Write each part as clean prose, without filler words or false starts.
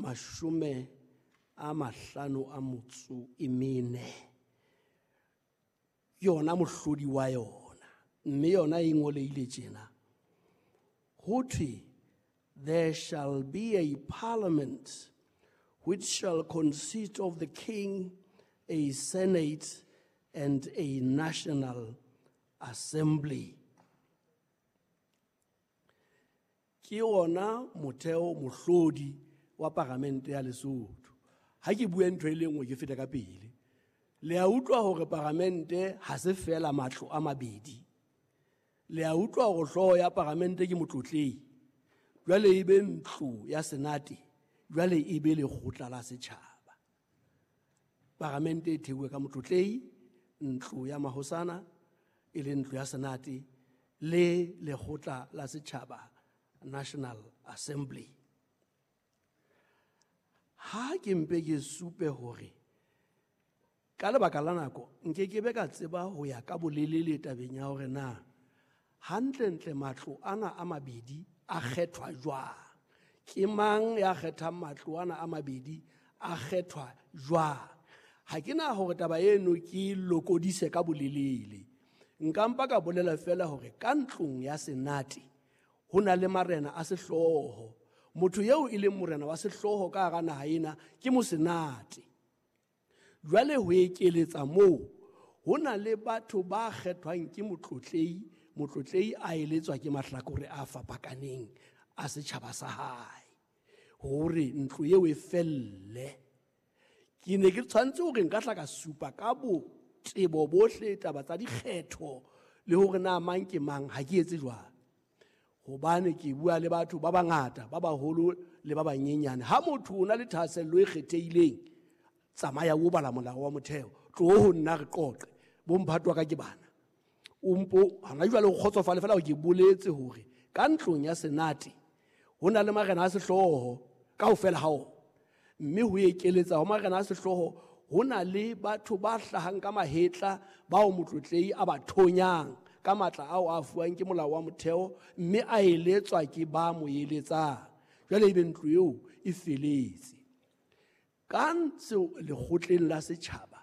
54 ke yona mohlodi wa yona, mme yona e ngoleile tjena. Ho thwe, there shall be a parliament which shall consist of the king, a senate, and a national assembly. Ke ona motheo mohlodi wa paramente ya Lesotho. Ha ke bue ntho e le nngwe ke feta ka pele. Le a utlwa hore paramente ha se fela matlo a mabedi. Le a utlwa hore hlooho ya paramente ke motlotlehi. Jwale e be ntlo ya senate, jwale e be lekgotla la setjhaba. Paramente e theuwe ka motlotlehi, ntlo ya mahosana e le ntlo ya senate le lekgotla la setjhaba, National Assembly. Ha ke mpe ke supe hore ka lebaka la nako nke ke be ka tseba ho ya ka bolelele tabeng ya hore na hantlentle matlo ana a mabedi a kgethwa jwang. Ke mang ya kgethang matlo ana a mabedi a kgethwa jwang? Ha ke na hore taba eno ke lokodise ka bolelele. Nka mpa ka bolela fela hore ka ntlong ya senate ho na le marena a sehlooho. Motho eo e leng morena wa sehlooho ka hara naha ena ke mosenate. Jwale ho ekeletsa moo, ho na le batho ba kgethwang ke motlotlehi, motlotlehi a eletswa ke mahlakore a fapakaneng a setjhaba sa hae hore ntlo eo e felle. Ke ne ke tshwanetse hore nka hla ka supa ka botebo bohle taba tsa dikgetho le hore na mang ke mang, ha ke etse jwalo. Hobane ke bua le batho ba bangata, ba baholo le ba banyenyane. Ha motho o na le thahasello e kgethehileng, tsamaya o bala molao wa motheo, tloho ho nna re qoqe. Bo mphato wa ka ke bana. O mpo hana jwale o kgotsofale fela ke boletse hore ka ntlong ya senate ho na le marena a sehlooho kaofela ha ona. Mme ho ekeletsa ho marena a sehlooho ho na le batho ba hlahang ka mahetla bao motlotlehi a ba thonyang ka matla ao a fuwang ke molao wa motheo, mme a eletswa ke ba mo eletsang. Jwale ebe ntlo eo e feletse. Ka ntse lekgotleng la setjhaba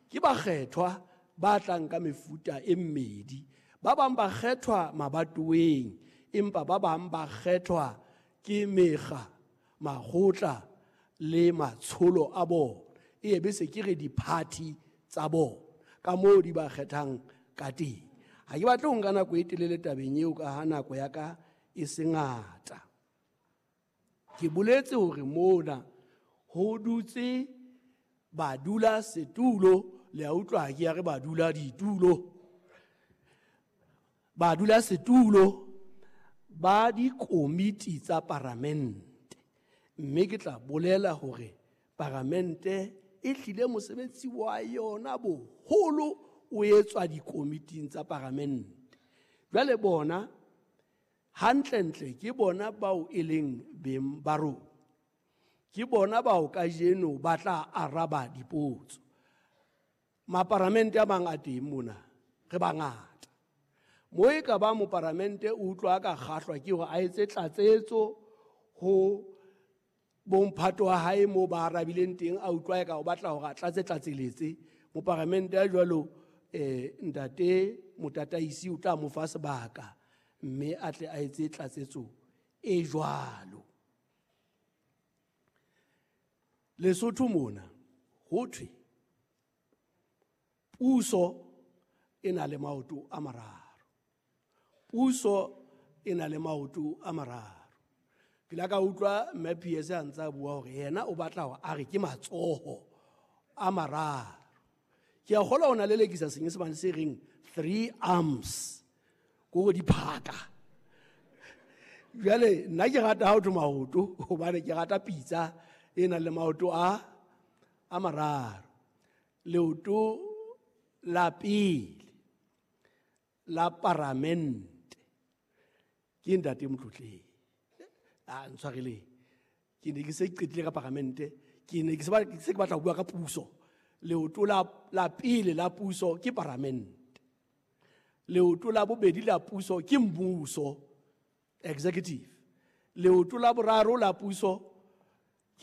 ke bakgethwa ba tlang ka mefuta e mmedi. Ba bang ba kgethwa mabatoweng, empa ba bang ba kgethwa ke mekga, makgotla le matsholo a bona. E be se ke re di-party tsa bona ka moo di ba kgethang ka teng. Ha ke batle ho nka nako e telele tabeng eo ka ha nako ya ka e se ngata. Ke boletse hore mona ho dutse badula setulo, le a utlwa ha ke ya re badula ditulo. Badula setulo ba dikomiti tsa paramente. Mme ke tla bolela hore paramente e hlile mosebetsi wa yona boholo o etswa dikomiting tsa paramente. Jwale bona hantlentle ke bona bao e leng beng ba rona. Ke bona bao kajeno ba tla araba dipotso. Maparamente a mang a teng mona, re bangata. Mo e ka ba moparamente o utlwa ka kgahlwa ke hore a etse tlatsetso ho bomphato wa hae moo ba arabileng teng, a utlwa eka o batla hore a tlatse tlatseletse. Moparamente a jwalo, ntate motataisi o tla mo fa sebaka mme a tle a etse tlatsetso e jwalo. Lesotho mona ho thwe puso e na le maoto a mararo. Puso e na le maoto a mararo. Ke la ka utlwa Mme PS a ntse a bua hore yena o batla hore a re ke matsoho a mararo. Ke a kgolwa o na lelekisa senyesemane se reng three arms, ke hore diphaka. Jwale nna ke rata ha ho thwe maoto hobane ke rata pitsa e nang le maoto a mararo. Leoto la pele la paramente ke ntate Motlotleng. A ntshwareleng, ke ne ke se qetile ka paramente, ke ne ke se ke batla ho bua ka puso. Leoto la pele la puso ke paramente. Leoto la bobedi la puso ke mmuso, executive. Leoto la boraro la puso